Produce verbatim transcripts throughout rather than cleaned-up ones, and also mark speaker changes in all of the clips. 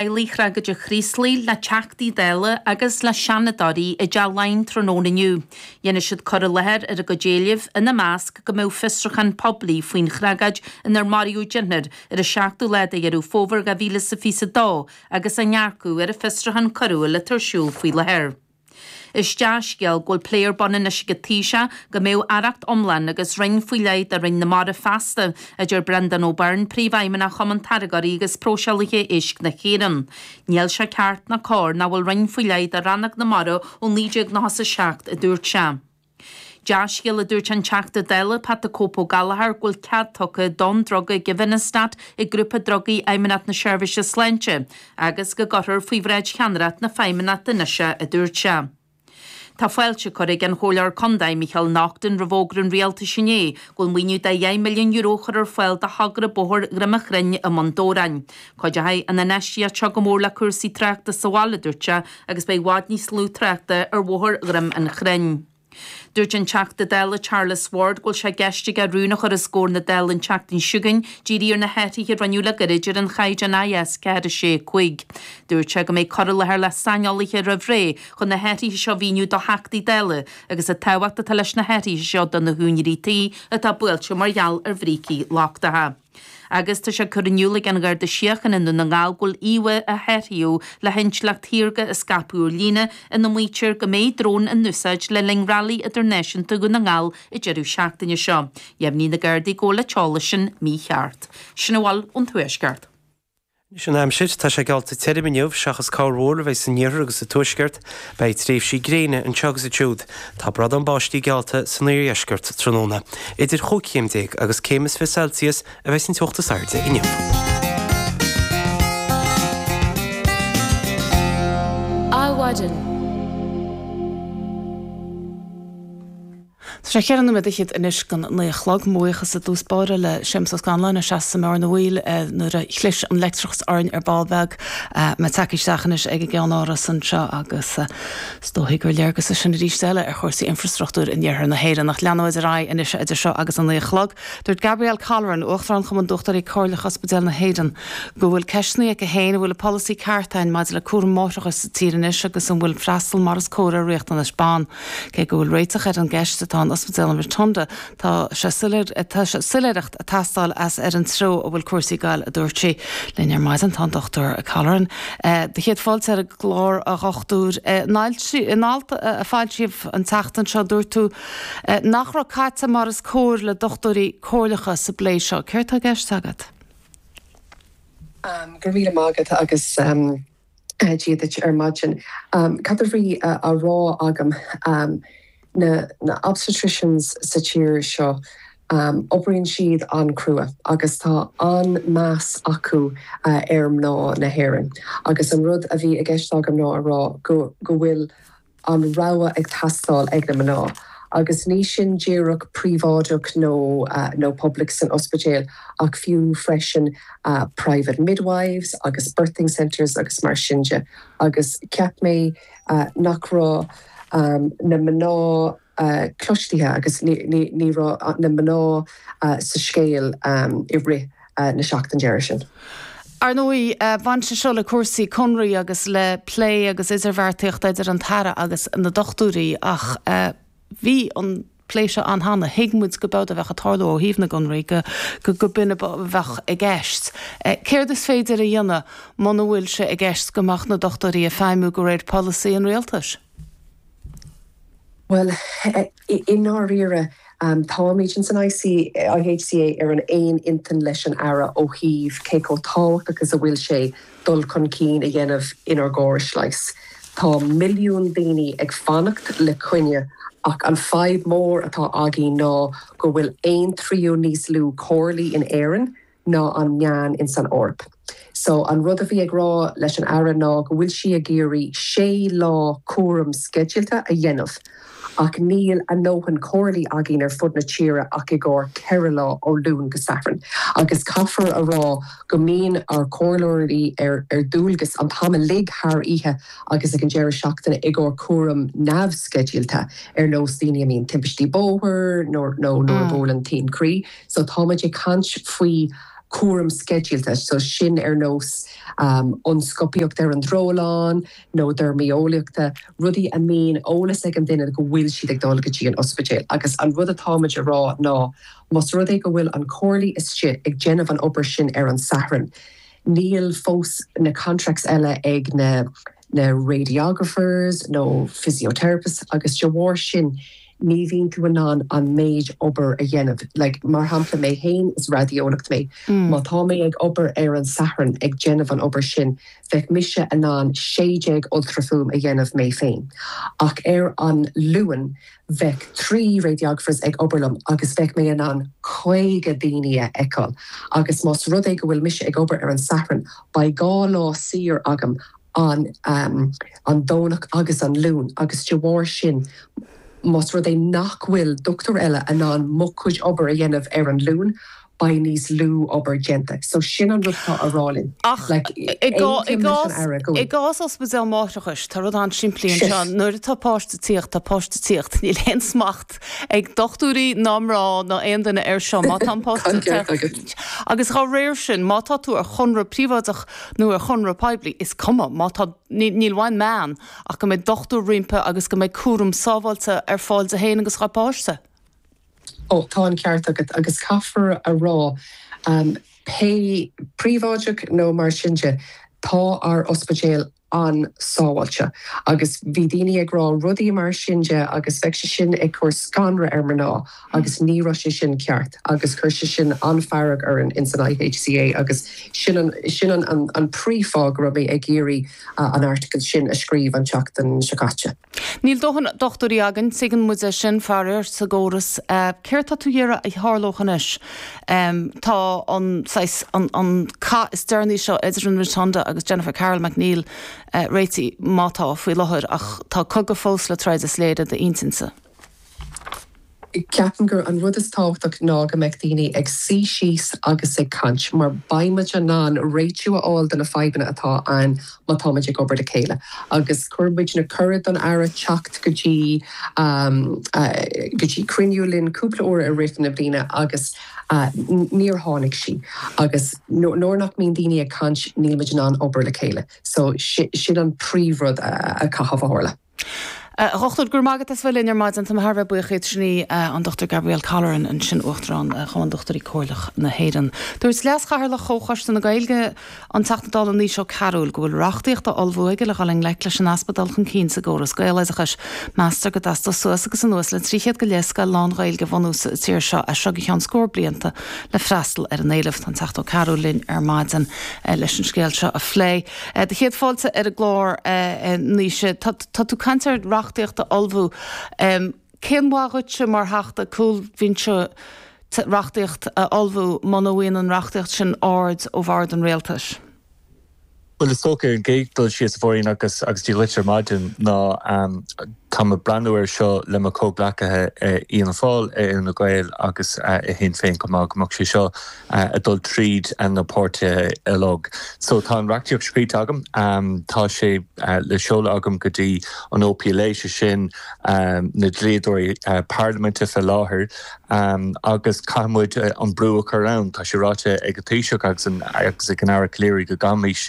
Speaker 1: Teaghlaigh thragóide Chraoslaigh le Teachtaí Dála agus le Seanadóirí i dTeach Laighean tráthnóna inniu. Dhéanfaidh siad cur i láthair ar a gcuid éileamh, ina measc go mbeadh fiosrúchán poiblí faoin thragóid inar maraíodh deichniúr ar an seachtú lá de Dheireadh Fómhair dhá mhíle is a fiche a dó agus a ndearcadh ar an bhfiosrúchán coiriúil atá ar siúl faoi láthair. Is dea-scéal go bhfuil plé ar bun anois ag an Taoiseach go mbeadh aireacht iomlán agus roinn faoi leith do Roinn na Mara feasta, a deir Brendan O'Byrne, Príomhfheidhmeannach Chumann Táirgeoirí agus Próiseálaithe Éisc na hÉireann. Níl sé ceart ná cóir nach bhfuil roinn faoi leith do Rannóg na Mara ó naoi déag nócha a seacht, a dúirt sé. Dea-scéal, a dúirt an Teachta Dála Pat the Cope Ó Gallchóir, go bhfuil cead tugtha don druga Givinostat ag Grúpa Drugaí Fheidhmeannacht na Seirbhíse Sláinte agus go gcuirfear faoi bhráid cheannaireacht na Feidhmeannachta anois é, a dúirt sé. Tá fáilte curtha ag an Chomhairleoir Contae Micheál Naughton roimh fhógra an Rialtais inné go bhfuil maoiniú de dheich milliún euro a chur ar fáil do thogra Bóthar Dhroim an Chrainn i mBun Dobhráin. Cuideoidh an infheistíocht seo go mór le cúrsaí tráchta sa bhaile, a dúirt sé, agus beidh i bhfad níos lú tráchta ar Bhóthar Dhroim an Chrainn. Dúirt an Teachta Dála Charles Ward go bhfuil sé i gceist aige rún a chur os comhair na Dála an tseachtain seo chugainn dírithe ar na hathruithe a rinneadh le gairid ar an chaighdeán I S ceathair a sé cúig. Dúirt sé go mbeidh cur i láthair le saineolaithe roimh ré chun na hathruithe seo a mhíniú do Theachtaí Dála agus an tábhacht atá leis na hathruithe seo do na húinéirí tí atá buailte mar gheall ar bhrící lochtacha. Agus tá sé curtha in iúl ag an Gharda Síochána i nDún na nGall go bhfuil íomhá a hathraíodh le hintleacht shaorga a scaipeadh ar líne ina maítear go mbeidh drón in úsáid le linn Railí Idirnáisiúnta Dhún na nGall an deireadh seachtaine seo. Dheimhnigh na Gardaí go bhfuil an t-eolas sin mícheart. Sin a bhfuil ón Tuaisceart.
Speaker 2: Anois an aimsir, tá sé geallta tirim inniu seachas corrmhúr a bheidh san iarthar agus sa tuaisceart, beidh tréimhsí gréine anseo agus ansiúd. Tá bradán báistí geallta san iardheisceart tráthnóna. Idir chúig chéim déag agus céim is fiche Celsius a bheidh an teocht is airde inniu.
Speaker 3: Adhmhaidin.
Speaker 4: Tá sé cheithre nóiméad fhichead anois don naoi a chlog. Mo bhuíochas i dtús báire le Séamus Ó Scanláin a sheas i mbarr na bhfuil nuair a chlis an leictreachas orainn ar ball beag. Mé tagtha isteach anois ag an gceannáras anseo agus is dóigh gur léargas é sin arís eile ar chúrsaí infrastruchtúir in iarthar na hÉireann. Ach leanfaimid ar aghaidh anois idir seo agus an naoi a chlog. Dúirt Gabrielle Colleran, Uachtarán Chumann Dochtúirí Comhairleacha Ospidéal na hÉireann, go bhfuil ceisteanna aici féin an bhfuil an polasaí ceart ann maidir le cúram máithreachais sa tír anois agus an bhfuil freastal mar is cóir ar riachtanais ban. Cé go bhfuil réiteach ar an gceist atá in Ospidéal an Rotunda tá sé tá sé soiléireacht ag teastáil as ar an treo a bhfuil cúrsaí ag goil a dúirt sí. Linn ar maidin tá an Dochtúir Colleran. Do chéad fáilte ar an gclár a dhochtúir in alt a foilsíodh an tseachtain seo dúirt tú nach raibh caite mar is cóir le dochtúirí comhairleacha sa bplé seo. Céard atá i gceist agat?
Speaker 5: Um, Go raibh maith agat agus um, Dia duit ar maidin. Um, Cad a bhí á rá agam um, na, na obstetricians sa tír seo um, oibríonn siad an-chrua agus tá an-meas acu uh, ar mná na hÉireann. Agus an rud a bhí i gceist agam ná a rá go, go bhfuil an rogha ag teastáil ag na mná. Agus ní sin díreach príobháideach nó uh, nó public san ospidéal ach fiú freisin uh, private midwives agus birthing centers agus mar sin de. Agus cheap mé uh, nach raibh um, na mná uh, cloiste agus ní, ní, ní raibh na mná uh, sa scéal um, i rith uh, na seachtain deireadh sin.
Speaker 4: Ar ndóigh bhain sé seo le cúrsaí conraí agus le plé agus idirbheartaíocht idir an tAire agus na dochtúirí ach uh, bhí an plé seo ann cheana thuig muid go b'fhéidir a bheith ag tarlú ó thaobh na gconraí go go go b'in a bheadh i gceist. Céard is féidir a dhéanamh muna bhfuil sé i gceist go mbeadh na dochtúirí ag feidhmiú de réir polasaí an rialtais.
Speaker 5: Well, i ndáiríre um, táimid in san I C, I H C A ar an aon intinn leis an Aire ó thaobh cé chomh tábhachtach agus a bhfuil sé dul chun cinn a dhéanamh inár gcóras leighis. Tá milliún daoine ag fanacht le coinne ach an fadhb mór atá againn ná go bhfuil aon tríú níos lú comhairlí in Éirinn ná an meán in san Eoraip. So an rud a bhí ag rá leis an Aire ná go bhfuil sí ag iarraidh sé lá cúram sceidealta a dhéanamh. Ach níl a ndóthain comhairlí againn ar fud na tíre ach i gcomhair ceithre lá ó Luan go Satharn. Agus caithfear a rá go mbíonn ár gcomhairleoirí ar ar dualgas an t-am uilig thar oíche agus ag an deireadh seachtaine i gcomhair cúram neamhsceidealta ar nós daoine a mbíonn timpistí bóthair nó nó nuair a bhuaileann taom croí. So táimid ag caint faoi cúram sceidealta, so sin ar nós um, ionscópaíocht ar an drólann nó deirmeolaíochta, rudaí a mbíonn eolas ag an duine go bhfuil siad ag dul go dtí an ospidéal. Agus an rud atáimid a rá ná más rud é go bhfuil an comhairle istigh ag déanamh an obair sin ar an Satharn. Níl fós na contracts eile ag na na radiographers nó physiotherapists agus de bharr sin ní bhíonn tú in ann an méid obair a dhéanamh. Like, mar shampla mé féin is raideolaí mé. Mm. Má tá mé ag obair ar an Satharn ag déanamh an obair sin, bheadh mise in ann sé déag ultrafhuaim a dhéanamh mé féin. Ach ar an Luan bheadh trí radiographers ag obair liom agus bheadh mé in ann caoga daoine a fheiceáil. Agus más rud é go bhfuil mise ag obair ar an Satharn, beidh dhá lá saor agam an um, an Domhnach agus an Luan agus de bharr sin más rud é nach bhfuil dochtúir eile in ann mo chuid obair a dhéanamh ar an Luan, beidh níos lú obair déanta. So sin an rud atá á rá linn.
Speaker 4: Ach i gcás ospidéal máithreachais tá rud an-simplí anseo nuair atá páiste ag tíocht tá páiste ag tíocht níl aon smacht ag dochtúirí ná mná ná aon duine air seo má tá páiste agus dá réir sin má tá tú ar chonradh príobháideach nó ar chonradh poiblí is cuma má tá níl uainn meán ach go mbeidh dochtúir roimpi agus go mbeidh cúram sábháilte ar fáil di féin agus dá páiste.
Speaker 5: Ó tá an ceart agat agus caithfear a rá um, pé príobháideach nó mar sin de tá ár ospidéal an-sábháilte agus bhí daoine ag rá rudaí mar sin de agus bheadh sé sin ag cur scanradh ar mná agus ní raibh sé sin ceart agus chuir sé sin an-fhearg orainn in san IHCA agus sin an, sin an, an, an príomhfháth go raibh mé ag iarraidh uh, an article sin a scríobh an tseachtain seo caite.
Speaker 4: Níl dóthain dochtúirí againn tuigeann muid é sin faraor sa gcóras. Céard tá tú ag iarraidh a tharlódh anois? Tá an saghas an an cath is deireanaí seo idir an Rotunda agus Jennifer Carroll MacNeill réitithe má tá faoi láthair ach tá cogadh fós le troid is léir i d'intinnse.
Speaker 5: Ceapaim gur an rud is tábhachtach ná go mbeidh daoine ag suí síos agus ag caint, mar beimid in ann réitiú a fháil do na fadhbanna atá ann má táimid ag obair le chéile. Agus chuir muidne cuireadh don Aire teacht go dtí go dtí cruinniú linn cúpla uair i rith na bliana agus níor tháinig sí. Agus nuair nach mbíonn daoine ag caint níl muid in ann obair le chéile. So sin an príomhrud a chaithfidh a tharlú.
Speaker 4: A Dhochtúir, go raibh maith agat as bheith linn ar maidin. Tá mé thar a bheith buíoch díot. Sin í an Dochtúir Gabrielle Colleran ansin, Uachtarán Chumann Dochtúirí Comhairleach na hÉireann. Dúirt Leas-Chathaoirleach Chomhchoiste na Gaeilge, an Teachta Dála Naoise Ó Cearúil, go bhfuil reachtaíocht á ullmhú aige le dhul i ngleic leis an easpa dul chun cinn sa gcóras Gaeloideachais. Meastar go dteastódh suas agus anuas le trí chéad go leith scoil lán-Ghaeilge a bhunú sa tír seo as seo go ceann scór blianta le freastal ar an éileamh. Tá an Teachta Ó Cearúil linn ar maidin leis an scéal seo a phlé. Do chéad fáilte ar an gclár, a Naoise. Tá tú ag caint ar reachtaíocht a ullmhú. Cén mhaith dhuitse mar Theachta cúlbhinse reachtaíocht a ullmhú muna bhfaigheann an reachtaíocht sin aird ó bhord an rialtais?
Speaker 6: Bhuel, is dócha ar an gcéad dul síos, a Mháirín, agus agus Dia dhuit ar maidin ná tá mé ag breathnú air seo le mo chomhghleacaithe i Fhianna Fáil, i Fhine Gael agus i Shinn Féin chomh maith, go mbeadh sé seo ag dul tríd na páirtithe uilig. So tá an reachtaíocht scríte agam, tá sé le seoladh agam go dtí an OPLA, sé sin na dlíodóirí parlaiminte fé láthair, agus caithfidh muid an brú a chur ann. Tá sé ráite ag an Taoiseach agus agus ag an Aire Calleary go gcaithfimis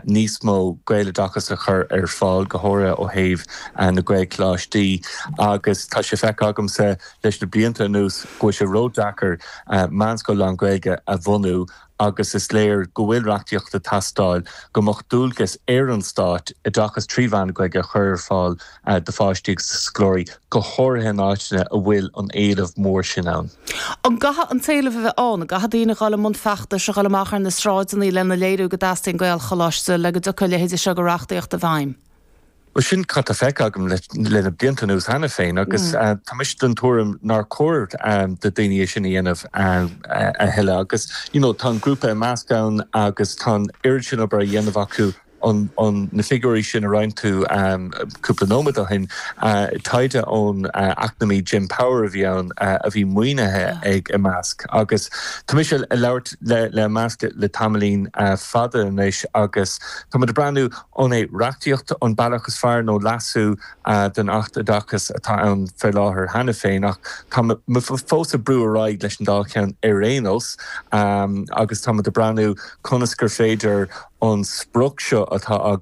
Speaker 6: níos mó Gaeloideachas a chur ar fáil, go háirithe ó thaobh na Gaelcholáistí, agus tá sé feicthe agamsa leis na blianta anuas go bhfuil sé ródheacair meánscoil lán-Ghaeilge a bhunú agus is léir go bhfuil reachtaíocht ag teastáil go mbeadh dualgas ar an Stát oideachas trí mheán na Gaeilge a chur ar fáil do pháistí agus do scoláirí, go háirithe in áiteanna a bhfuil an éileamh mór sin ann.
Speaker 4: An gcaithfidh an t-éileamh a bheith ann? An gcaithfidh daoine dhul i mbun feachtais, a dhul amach ar na sráideanna lena léiriú go dteastaíonn Gaelcholáiste le go dtiocfaidh a leithéide seo de reachtaíocht i bhfeidhm?
Speaker 6: Bhuel, sin cad tá feicthe agam le na blianta anuas cheana féin agus tá mise den tuairim nár chóir do daoine é sin a dhéanamh a thuilleadh agus you know tá an grúpa Imeasc ann agus tá an oiread sin obair á dhéanamh acu an, an, na figiúirí sin a roinn tú um, cúpla nóiméad ó shin, uh, taighde ón uh, eacnamaí Jim Power a bhí ann uh, a bhí maoinithe ag Imeasc. Agus tá mise ag labhairt le, le Imeasc le tamaillín uh, fada anois agus tá muid ag breathnú an é reachtaíocht an bealach is fearr nó leasú uh, den Acht Oideachais atá ann fé láthair cheana féin ach tá fós ag brú ar aghaidh leis an dá cheann ar aon nós um, agus tá muid ag breathnú conas gur féidir an sprioc seo atá